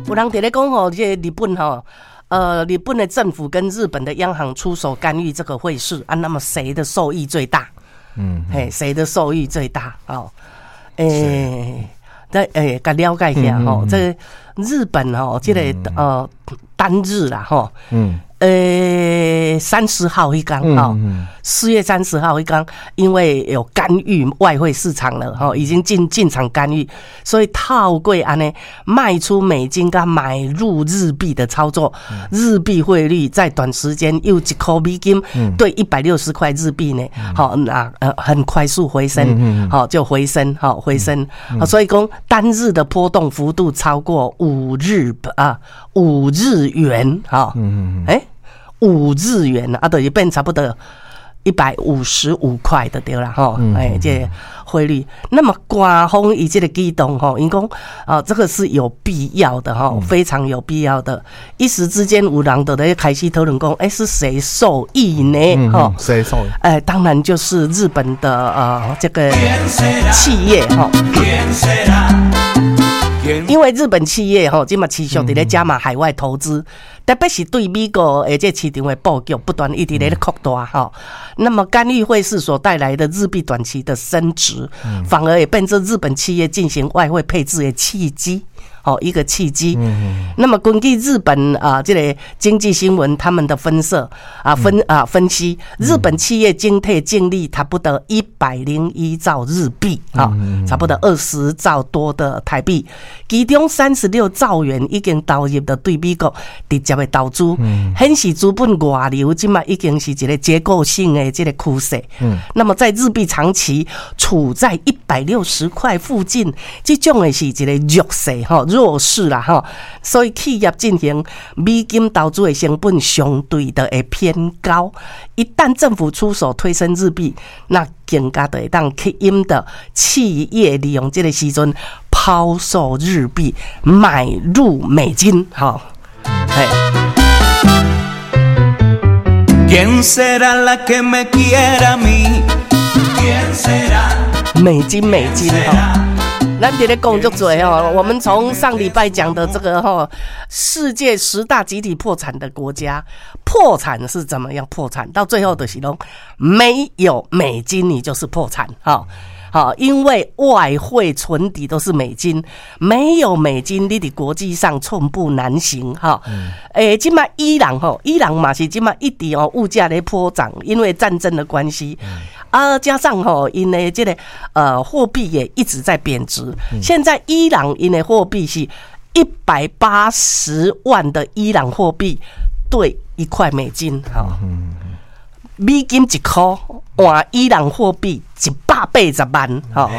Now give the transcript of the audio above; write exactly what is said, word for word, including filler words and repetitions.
有人佇咧講吼，這個日本吼，呃，日本的政府跟日本的央行出手干預這個匯市啊，那麼誰的受益最大？嗯，嘿，誰的受益最大？哦，欸，再欸，共了解一下吼，這個日本吼，這個呃單日啦吼，嗯，呃，三十號彼工吼，四月三十號彼工，因為有干預外匯市場了吼，已經進進場干預，所以透過按呢賣出美金佮買入日幣的操作，日幣匯率在短時間又一箍美金對一百六十塊日幣呢，好，那呃很快速回升，好就回升，好回升，所以講單日的波動幅度超過五日啊五日元，哈，欸。五日元啊，就是變差不多一百五十五塊就對啦吼，欸，這匯率。那麼官方伊這個舉動吼，𪜶講啊，這個是有必要的吼，非常有必要的。一時之間有人就咧開始討論講，欸，是誰受益呢？吼，誰受益？欸，當然就是日本的呃這個企業吼。因為日本企業吼，這馬持續佇咧加碼海外投資，特別是對美國的這市場的布局不斷一直咧擴大吼。那麼干預匯市所帶來的日幣短期的升值，反而也變成日本企業進行外匯配置的契機。哦，一個契機。那麼根據日本啊，這個經濟新聞他們的分析啊分啊分析，日本企業整體淨利差不多一百零一兆日幣啊，差不多二十兆多的台幣，其中三十六兆元已經投入到對美國直接的投資，顯示資本外流這馬已經是一個結構性的這個趨勢。那麼在日幣長期處在一百六十塊附近，這種的是一個弱勢吼。弱勢啦吼，所以企業進行美金投資的成本相對的會偏高。一旦政府出手推升日幣，那更加就會當吸引著企業利用這個時陣拋售日幣，買入美金。吼，嘿。 ¿Quién será la que me quiera a mí? ¿Quién será? 美金，美金，吼。咱佇咧講足濟吼，我們從上禮拜講的這個吼，世界十大集體破產的國家，破產是怎麼樣破產？到最後就是攏沒有美金，你就是破產，哈。好，因為外匯存底都是美金，沒有美金，你佇國際上寸步難行，哈。欸，這馬伊朗吼，伊朗嘛是這馬一直哦，物價咧波漲，因為戰爭的關係。啊，加上吼，𪜶的這個呃貨幣也一直在貶值。現在伊朗𪜶的貨幣是一百八十萬的伊朗貨幣兌一塊美金，哈。美金一箍換伊朗貨幣一百八十萬，吼。